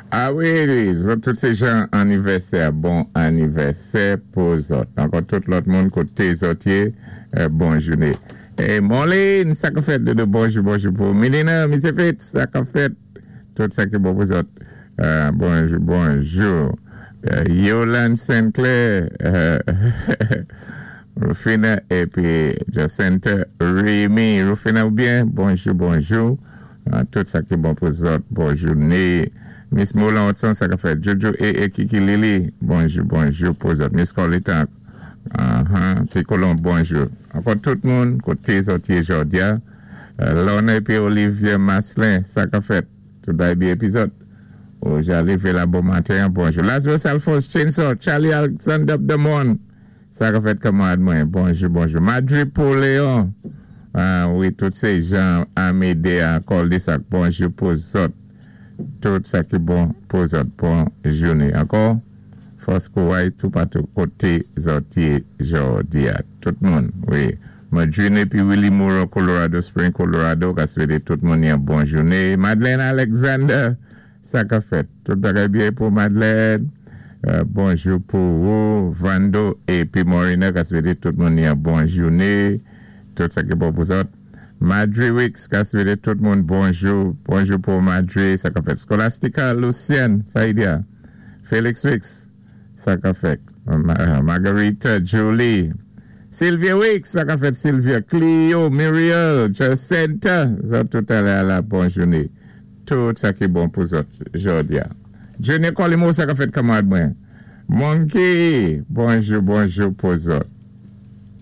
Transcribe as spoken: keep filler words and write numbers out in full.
A wi, zòt tout sé jan anivèsè, bon anivèsè pou zòt. Ankò tout lòt moun koté zòt yé, bon jouné. É Molin, sa ka fèt de bonjou, bonjou pou Milina, Misye Fitz, sa ka fèt, tout sa ki bon pou zòt. Bonjou, bonjou. Yolande Sinclair, Rufina, épi Jacinta Rémy. Rufina ou byen? Bonjou, bonjou. Tout sa ki bon pou zòt, bon jouné. Miss Moulin Watson, sa ka fèt. Jojo et, et Kiki Lili, bonjou, bonjou pou zòt. Miss Colita, uh-huh, Ti Colon, bonjou. Ankò tout moun, koté zòt yé jòdi-a. Lorna épi Olivier Maslin, sa ka fèt. Tout bagay byen épi zòt. Oh, j'arrive la bon maten, bonjou. Lazarus Alphonse Chainsaw, Charlie Alexander Demon, sa ka fèt kanmarad mwen, bonjou, bonjou. Madrid Paul Léon, ah wi, tout sé jan Amédée à Cul-de-sac, bonjou pou zòt. Tout sa ki bon pou zòt, bon jouné. Ankò, fòs kouway tout patou koté zòt yé jòdi-a. Tout moun, wi. Madrine épi Willie Moore, Colorado Spring, Colorado, ka swété tout moun yon bon jouné. Madeleine Alexander, sa ka fèt. Tout bagay byen pou Madeleine. Euh, bonjou pou ou. Vando épi Morina, ka swété tout moun yon bon jouné. Tout sa ki bon pou zòt. Madri Wicks, ka swété tout moun bonjou. Bonjou pou Madri, sa ka fèt. Scholastica Lucien, sa y di-a. Félix Wicks, sa ka fèt. Margarita Julie. Sylvia Wicks, sa ka fèt Sylvia. Clio, Muriel, Jacinta, zòt tout alé la bon jouné. Tout sa ki bon pou zòt jòdi-a. Junior Colimo, sa ka fèt kanmarad mwen. Monkey, bonjou, bonjou pou zòt.